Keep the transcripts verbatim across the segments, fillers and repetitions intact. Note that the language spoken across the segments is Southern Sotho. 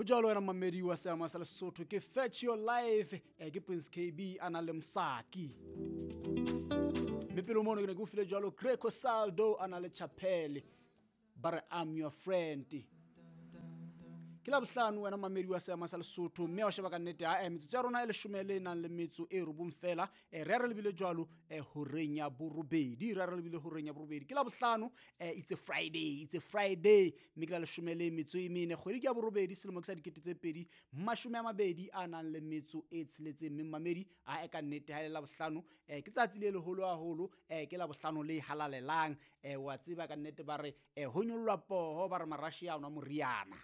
Jalo wena mamedi wa seama sa Lesotho ke Fetch Your Life, eh, ke Prince K B a na le Msaki. Mme pele mono ke ne ke o file jalo Greco Saldo a na le Chapelle, ba re I'm your friend. Ke la bohlano wena mamedi wa seama sa Lesotho, mme wa sheba ka nnete ha, eh, metsotso ya rona e leshome le nang le metso e robong fela, eh, re re lebile jwalo, eh, horeng ya borobedi, re re lebile horeng ya borobedi. Ke la bohlano, eh, it's a Friday, it's a Friday, mme ke la leshome le metso e mene, kgwedi ke ya borobedi, selemo ke sa dikete tse pedi, mashome a mabedi a nang le metso e tsheletseng. Mme mamedi, a e ka nnete ha e le la bohlano, eh, ke tsatsi le leholo haholo, eh, ke la bohlano le halalelang, eh, wa tseba ka nnete ba re, eh, ho nyollwa poho, ba re marashi a nwa moriana.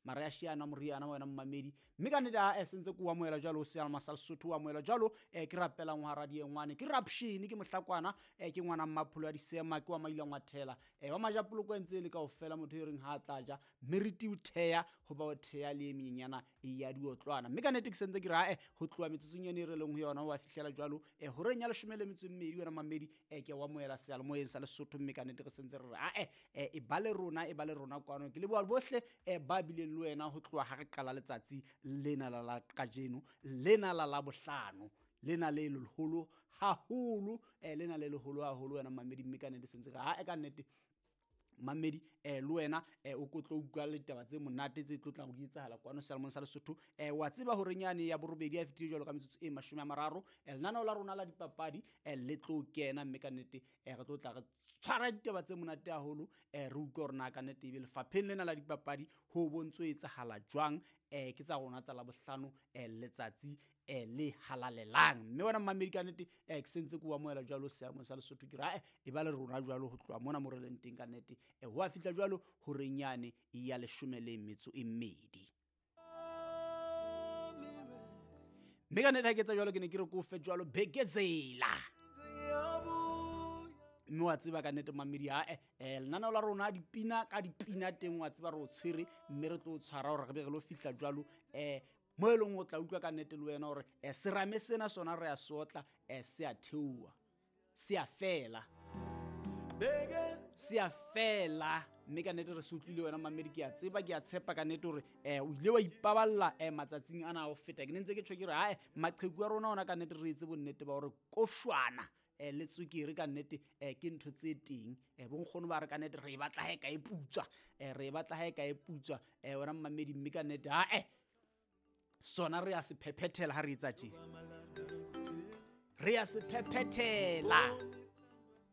Marashi a nwa moriana wena mmamedi. Mme ka nnete ha, eh, sentse ke o amohela jwalo, o sealma sa Lesotho o amohela jwalo, eh, ke rapelang ho hara diengwane, ke rapshini, ke mohlakwana, eh, ke ngwana mmapholo wa disema, ke wa maila ngwathela, eh, wa majapoloko a ntse e le kaofela, motho e reng ha a tla ja, meriti o theha, ho ba o theha le e menyenyana ya diotlwana. Mme ka nnete ke sentse ke re, eh, ho tloha metsotsong ena e re leng ho yona, ho a fihlela jwalo, eh, horeng ya leshome le metso e mmedi wena mmamedi, eh, ke o amohela seyalemoyeng sa Lesotho. Mme ka nnete re sentse re re, ah, eh, eh, e ba le rona, e ba le rona kwano. Ke leboha bohle, eh, ba bileng le wena ho tloha ha re qala letsatsi lena la la kajeno, lena la Labohlano, lena le leholo haholo, eh, lena le leholo haholo wena mmamedi. Mme ka nnete sentse re, ha, e ka nnete mmamedi, eh, le wena, eh, o ko tlo utlwa ditaba tse monate tse tlo tlang ho di etsahala kwano seyalemoyeng sa Lesotho. Eh, wa tseba hore nyane ya borobedi ya fetile jwalo ka metsotso e mashome a mararo, eh, lenaneo la rona la dipapadi, eh, le tlo kena, mme ka nnete, eh, re tlo tla re tshwara ditaba tse monate haholo, eh, re utlwe hore na ka nnete ebe lefapheng lena la dipapadi ho bontso etsahala jwang, eh, ke tsa rona tsa Labohlano, eh, letsatsi, eh, le halalelang. Mme wena mmamedi ka nnete, eh, ke sentse ke o amohela jwalo seyalemoyeng sa Lesotho, ke re, eh, e ba le rona jwalo ho tloha mona mo re leng teng ka nnete, eh, ho a fihla jwalo horeng yane ya leshome le metso e mmedi. Mme ka nnete ha ke etsa jwalo, ke ne ke re ke o fe jwalo Bekezela. Mme wa tseba ka nnete mmamedi, ha, eh, eh, lenaneo la rona dipina ka dipina teng, wa tseba re o tshwere, mme re tlo o tshwara hore re be re lo fihla jwalo, eh, mo e leng o tla utlwa ka nnete le wena hore, eh, serame sena sona re a sotla, eh, se a theoha, se a fela, se a fela. Mme ka nnete re se utlwile wena mmamedi, ke a tseba, ke a tshepa ka nnete hore, eh, o ile wa ipaballa, eh, matsatsing ana a ho feta. Ke ne ntse ke tjho ke re, hae, maqheku a rona ona ka nnete re etse bonnete ba hore kofshwana, eh, le tswekere ka nnete, eh, ke ntho tse teng. Eh, bonkgono ba re ka nnete re e batla ha e ka e putswa, eh, re e batla ha e ka e putswa, eh, wena mmamedi. Mme ka nnete, hae, sona re a se phephethela ha re etsa tje, re a se phephethela.